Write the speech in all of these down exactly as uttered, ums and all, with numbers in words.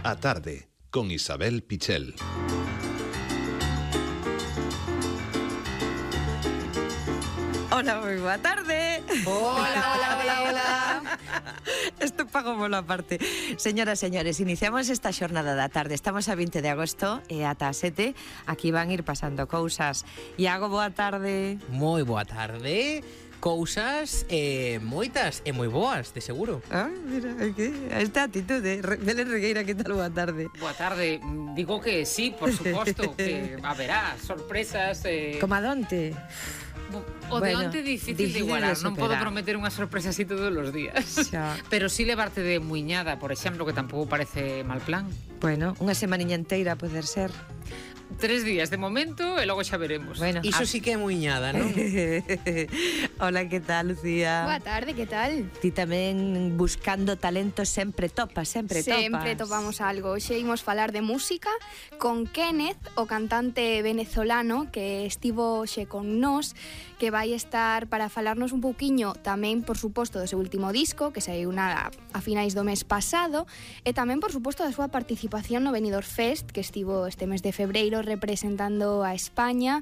A tarde, con Isabel Pichel. Hola, moi boa tarde. Hola, hola, hola, hola. Isto pago polo aparte. Señoras, señores, iniciamos esta xornada da tarde. Estamos a vinte de agosto e ata as sete. Aquí van ir pasando cousas. Iago, boa tarde. Moi boa tarde. Cousas eh, moitas e moi boas, de seguro. Ah, mira, que esta atitude. Belén Regueira, que tal? Boa tarde. Boa tarde. Digo que sí, por suposto, que haberá sorpresas. Eh... Como adonte. O de bueno, onte difícil, difícil de igualar, de non podo prometer unha sorpresa así todos os días. Xa. Pero sí levarte de muiñada, por exemplo, que tampouco parece mal plan. Bueno, unha semaniña inteira poder ser. Tres días de momento e logo xa veremos. Bueno, Iso sí que é muiñada, non? Hola, que tal, Lucía? Boa tarde, que tal? Ti tamén buscando talento sempre topas, sempre topas. Sempre topamos algo. Hoxe imos falar de música con Kenneth, o cantante venezolano que estivo hoxe con nós, que vai estar para falarnos un pouquiño tamén, por suposto, do seu último disco, que saiu na, a finais do mes pasado, e tamén, por suposto, da súa participación no Benidorm Fest, que estivo este mes de febreiro representando a España.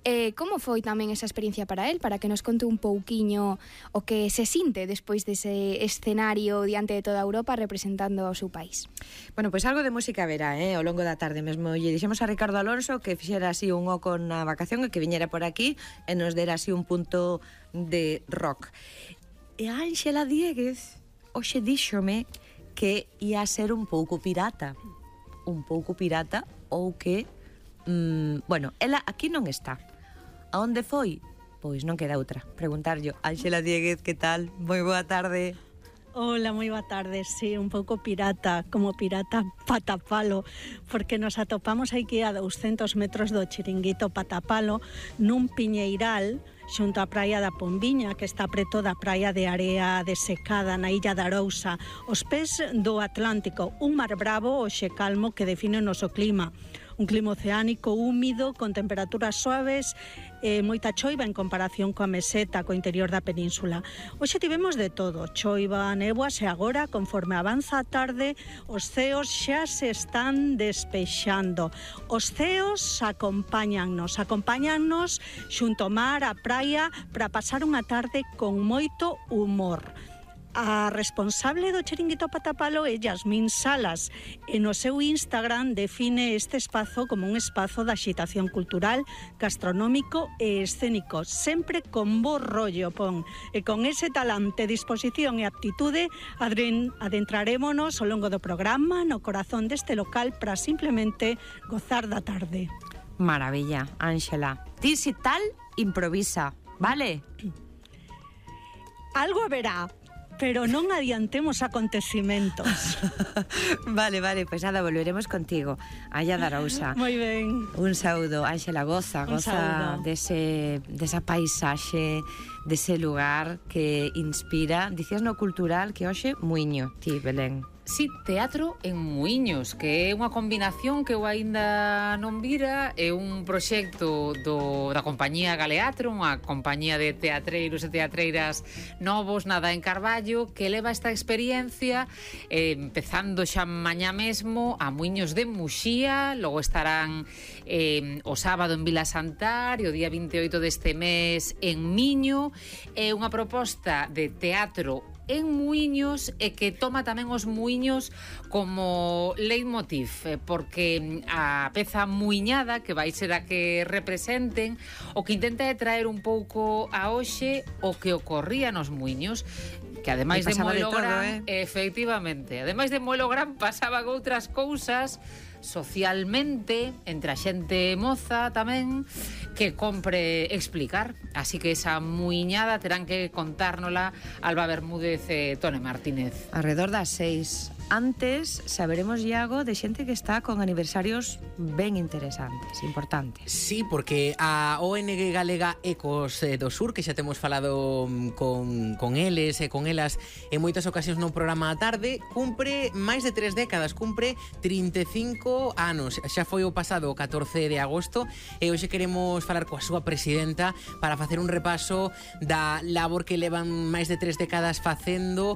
Eh, como foi tamén esa experiencia para él, para que nos conte un pouquiño o que se sinte despois dese escenario diante de toda Europa representando o seu país? Bueno, pois pues algo de música verá, eh, ao longo da tarde mesmo. Lle dixemos a Ricardo Alonso que fixera así un oco na vacación e que viñera por aquí e nos dera así un punto de rock. E a Ángela Dieguez hoxe díxome que ia ser un pouco pirata. Un pouco pirata ou que... Mm, bueno, ela aquí non está. A onde foi? Pois non queda outra. Preguntarllo. Ángela Dieguez, que tal? Moi boa tarde. Hola, moi boa tarde. Sí, un pouco pirata, como pirata Patapalo, porque nos atopamos aquí a douscentos metros do chiringuito Patapalo, nun piñeiral xunto á praia da Pombiña, que está preto da praia de area desecada na illa da Arousa, os pés do Atlántico, un mar bravo hoxe calmo que define o noso clima. Un clima oceánico húmido, con temperaturas suaves e moita choiva en comparación coa meseta, co interior da península. Hoxe tivemos de todo, choiva, néboas, e agora, conforme avanza a tarde, os ceos xa se están despexando. Os ceos acompáñannos, acompáñannos xunto ao mar, a praia, para pasar unha tarde con moito humor. A responsable do chiringuito Patapalo é Yasmín Salas e no seu Instagram define este espazo como un espazo de axitación cultural, gastronómico e escénico, sempre con bo rollo, pon. E con ese talante, disposición e aptitude adentrarémonos ao longo do programa no corazón deste local para simplemente gozar da tarde. Maravilla, Ángela. Ti si tal, improvisa, vale? Algo haberá, pero non adiantemos acontecimentos. Vale, vale, pois pues nada, volveremos contigo allá da Arousa. Moi ben. Un saúdo, Ángela, goza, goza dese, desa paisaxe, dese lugar que inspira. Dicías no cultural que hoxe muiño, ti, Belén. Sí, teatro en Muiños, que é unha combinación que eu aínda non vira, é un proxecto do, da compañía Galeatro, unha compañía de teatreiros e teatreiras novos, nada en Carballo, que leva esta experiencia eh, empezando xa mañá mesmo a Muiños de Muxía, logo estarán eh, o sábado en Vila Santar e o día vinte e oito deste mes en Miño. É unha proposta de teatro en Muiños e que toma tamén os muiños como leitmotiv, porque a peza muiñada, que vai ser a que representen, o que intenta é traer un pouco a hoxe o que ocorría nos muiños, que ademais de moelo gran, eh? efectivamente, ademais de moelo gran, pasaban outras cousas socialmente, entre a xente moza tamén, que compre explicar. Así que esa muiñada terán que contárnola Alba Bermúdez e Tone Martínez. Alrededor das seis. Antes saberemos, Iago, de xente que está con aniversarios ben interesantes, importantes. Sí, porque a O N G Galega Ecos do Sur, que xa temos falado con, con eles e con elas en moitas ocasións no programa a tarde, cumpre máis de tres décadas, cumpre trinta e cinco anos. Xa foi o pasado catorce de agosto e hoxe queremos falar coa súa presidenta para facer un repaso da labor que levan máis de tres décadas facendo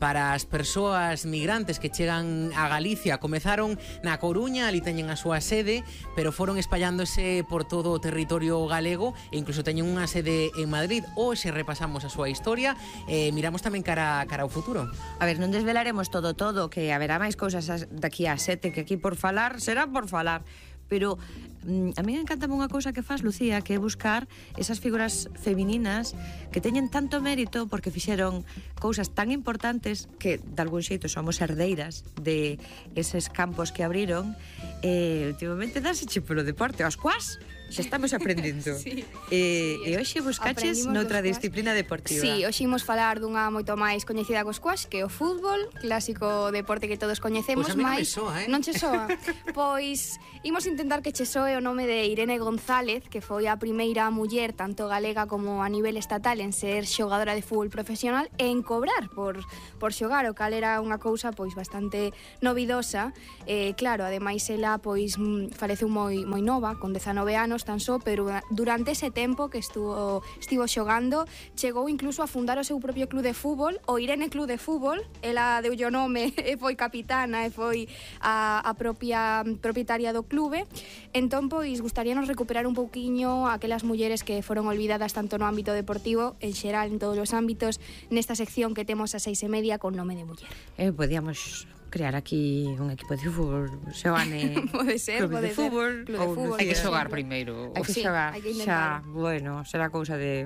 para as persoas migrantes importantes que chegan a Galicia. Comezaron na Coruña, ali teñen a súa sede, pero foron espallándose por todo o territorio galego e incluso teñen unha sede en Madrid. Hoxe repasamos a súa historia e miramos tamén cara, cara ao futuro. A ver, non desvelaremos todo todo, que haberá máis cousas daqui a sete, que aquí por falar será por falar. Pero mm, a mí me encanta unha cousa que faz, Lucía, que é buscar esas figuras femininas que teñen tanto mérito porque fixeron cousas tan importantes que de algún xeito somos herdeiras de eses campos que abriron. E últimamente dáseche polo deporte, aos cuas xa estamos aprendendo. Sí. E, e hoxe buscaches Aprendimos noutra dos disciplina deportiva. Sí, hoxe imos falar dunha moito máis coñecida co squash, que é o fútbol, clásico deporte que todos coñecemos, Pois a mí non me máis soa, eh? non che soa. Pois imos intentar que che soe o nome de Irene González, que foi a primeira muller tanto galega como a nivel estatal en ser xogadora de fútbol profesional e en cobrar por por xogar, o cal era unha cousa pois bastante novidosa. Eh, claro, ademais ela pois faleceu moi moi nova, con dezanove anos tan só, pero durante ese tempo que estuvo estivo xogando, chegou incluso a fundar o seu propio club de fútbol, o Irene Club de Fútbol. Ela deu o nome e foi capitana e foi a, a propia propietaria do clube. Entón, pois, gustaríanos recuperar un pouquiño aquelas mulleres que foron olvidadas tanto no ámbito deportivo, en xeral, en todos os ámbitos, nesta sección que temos a seis e media con nome de muller. Eh, podíamos crear aquí un equipo de fútbol, Xoane, Pode ser, club pode de ser. fútbol, Club de ou fútbol, Lucía. Hai que por xogar exemplo. primeiro. Hai que Sí, xogar, hai que xa, intentalo. bueno, será cousa de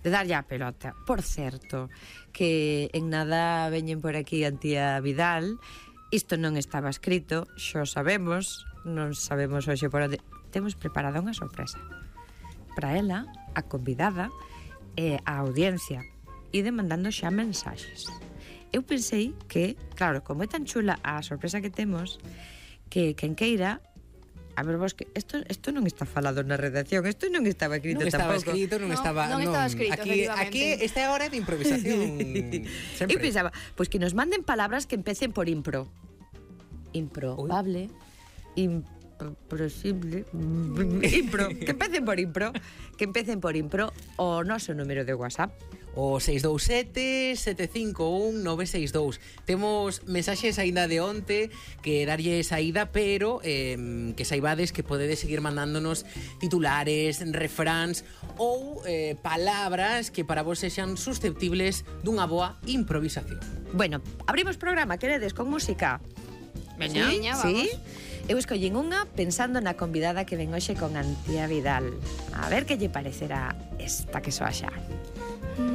de darlle a pelota. Por certo, que en nada veñen por aquí a tía Vidal. Isto non estaba escrito, xo sabemos, non sabemos hoxe por onde. Temos preparada unha sorpresa para ela, a convidada e a audiencia. Ide mandando xa mensaxes. Eu pensei que, claro, como é tan chula a sorpresa que temos, que quen queira, a ver vos que isto isto non está falado na redacción, isto non estaba escrito Non estaba tampouco. escrito, non No, estaba... non estaba escrito, aquí, efectivamente. aquí esta é a hora de improvisación. Sempre. Eu pensaba, pois que nos manden palabras que empecen por impro. Improbable, imposible, impro, que empecen por impro, que empecen por impro o noso número de WhatsApp. O seis dous sete, sete cinco un, nove seis dous. Temos mensaxes aínda de onte que darlle saída, pero eh, que saibades que podedes seguir mandándonos titulares, refráns ou eh, palabras que para vos sexan susceptibles dunha boa improvisación. Bueno, abrimos programa, queredes, con música? Veña. Sí, Veña, sí. vamos. Eu escollín unha pensando na convidada que ven hoxe con Antía Vidal. A ver que lle parecerá esta que soa xa.